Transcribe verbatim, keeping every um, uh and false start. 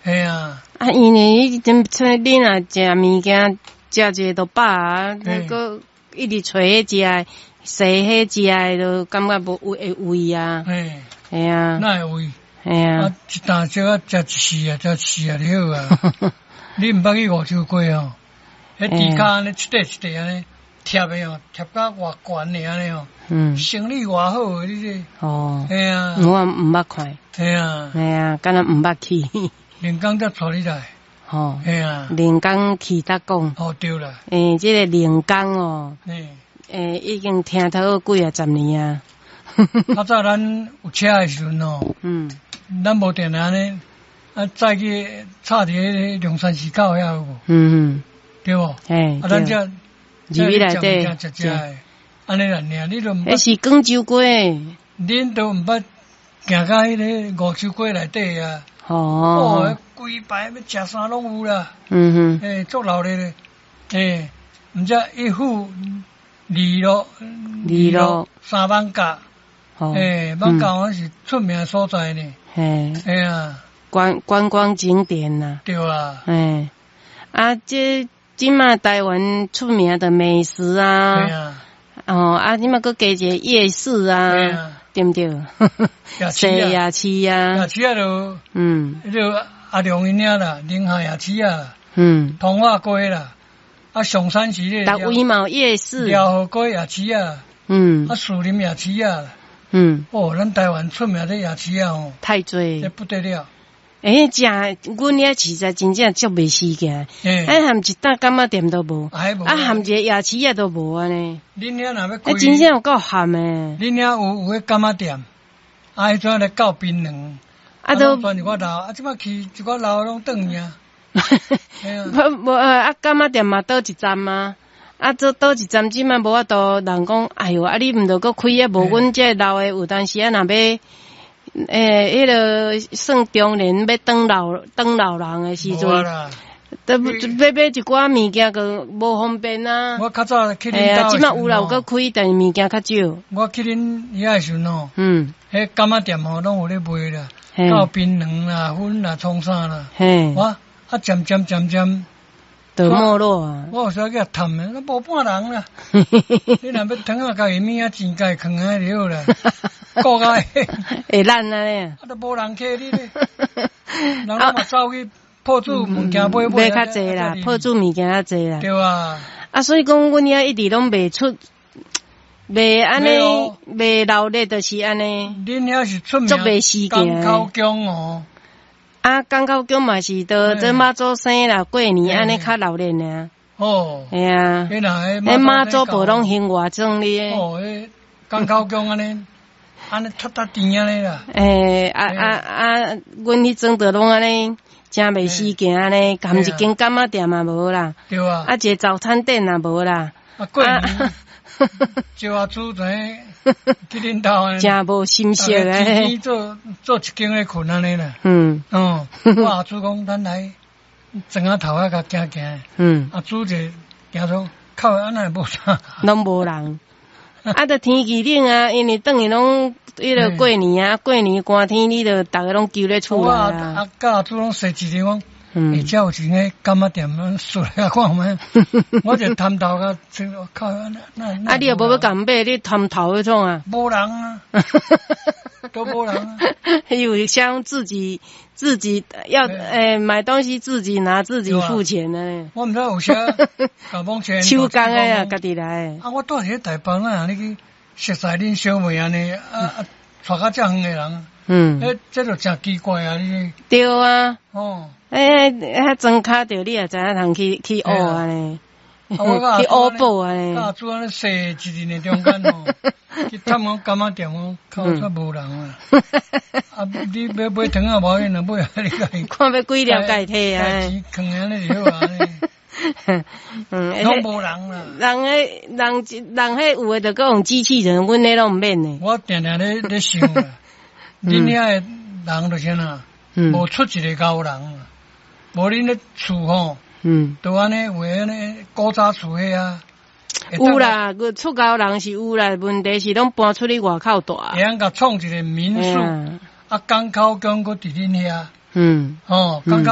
嘿啊，啊，因為彼陣出你若食物件，食一下就飽啊，嘿閣一直揣彼食的，踅彼食的，就感覺無會胃啊，嘿，嘿啊，哪會胃？嘿啊啊，，一擔小可食一四啊，食一四啊就好啊。你毋捌去梧州街哦？彼豬跤按呢一塊一塊按呢貼的哦，貼甲偌懸的按呢哦，嗯，生理偌好的，你這，哦，嘿啊，我毋捌看，嘿啊，嘿啊，敢若毋捌去，龍崗才帶你來，吼，嘿啊，龍崗去得講，哦對啦，欸，這個龍崗哦，嘿，欸，已經聽頭幾啊十年啊，較早咱有車的時陣哦，嗯，咱無定定按呢，啊載去插佇彼個龍山寺口遐有無？嗯，對無？嘿，啊，咱這入去內底食食的，按呢爾，你都毋捌，彼是廣州街，恁都毋捌行到彼个梧州街內底啊！哦哦，規排欲食啥攏有啦，嗯哼，欸，足鬧熱的，欸，毋知一府二路，二路三艋舺，哦，欸，艋舺那是出名的所在呢，嘿，嘿啊，觀觀光景點啦，對啊，嘿，啊，這這馬台灣出名的美食啊，嘿啊，哦，啊，這馬閣加一個夜市啊，嘿啊，對毋對？夜市啊，夜市啊，夜市啊，就嗯彼个阿良𪜶遐啦，寧海夜市啊，嗯，通化街啦，啊上山是彼逐位嘛有夜市，遼河街夜市啊，嗯啊士林夜市啊，嗯，哦，咱台灣出名這夜市啊吼，太濟這。不得了，欸，食阮遐實在真正足袂死行，欸，啊含一搭柑仔店都無，啊彼無，啊含一個夜市仔都無按呢，恁遐若欲啊開，真正有夠譀的，恁遐有有彼柑仔店，啊彼陣來到檳榔，啊都攏全一寡老，啊這擺去一寡老攏轉去啊，嘿啊，無無啊柑仔店嘛倒一站啊，啊做倒一站這擺無法度，人講哎喲，啊你毋著閣開啊，無阮這老的有當時啊若欲。欸，彼个算中年欲轉老轉老人的時陣，無啦，都欲買一寡物件，閣無方便啊。我較早去嘿啊，恁兜這擺有啦，有閣開，但是物件較少。我去恁遐的時陣吼，嗯，彼柑仔店吼攏有咧賣啦，嘿到檳榔啦、粉啦、創啥啦，嘿，我啊漸漸漸漸，就沒落啊。我有時去探的，都無半人啦。你若欲糖仔家己物仔錢家己囥遐就好啦，顧甲會爛按呢。啊，都無人客你咧，人攏嘛走去鋪主物件買買較濟啦，鋪主物件較濟啦。對啊，啊，所以講，阮遐一直攏袂出，袂按呢，袂鬧熱，就是按呢。恁遐是出名足袂死港口宮哦。啊，港口宮嘛是都這媽祖生啦，過年按呢較鬧熱爾。哦。嘿啊。彼若彼媽祖婆攏興外裝哩。哦，彼港口宮按呢，按呢踢踢甜按呢啦。欸，啊啊啊！阮彼陣就攏按呢，誠袂死行按呢，含一間柑仔店嘛無啦。對啊。啊，一個早餐店也無啦。啊，過年招阿祖知影去恁兜按呢。誠無心色欸。做做一間咧睏按呢啦。嗯。哦，我阿祖講，咱來庄仔頭仔共行行。嗯。阿祖就行說，靠，按呢會無啥。攏無人。啊，就天氣冷啊，因為轉去攏彼个過年啊，過年寒天，你就逐个攏勼咧厝內啊。啊，佮阿祖攏踅一日講，欸，遮有一間柑仔店，咱踅來看覓。我就探頭共靠，啊，你又無欲共買，你探頭欲創啊？無人啊，都無人啊。有像自己自己要欸買東西自己拿自己付錢呢。我毋知有啥共網車手工的啊，家己來。啊，我蹛佇咧台北哪你去熟似恁小妹按呢，啊啊，帶較遮遠的人，嗯，欸，這就誠奇怪啊！你對啊，哦，欸，遐莊跤著你也知影通去去學按呢，去學寶按呢。阿祖按呢踅一日的中間吼，去探訪柑仔店哦，靠，煞無人啊！啊，你欲買糖仔無要緊啦，買啊你家己看欲幾粒家己提啊？錢囥按呢就好啊。嗯，攏無人啦。人彼人人彼有的就閣用機器人，阮彼攏毋免的。我定定咧咧想啦，恁遐的人就是按怎，無出一个𠢕人，無恁咧厝吼，都按呢有按呢古早厝彼啊。有啦，出𠢕人是有啦，問題是攏搬出去外口蹛。會曉共創一个民宿，啊，港口宮閣佇恁遐。嗯，哦，感覺。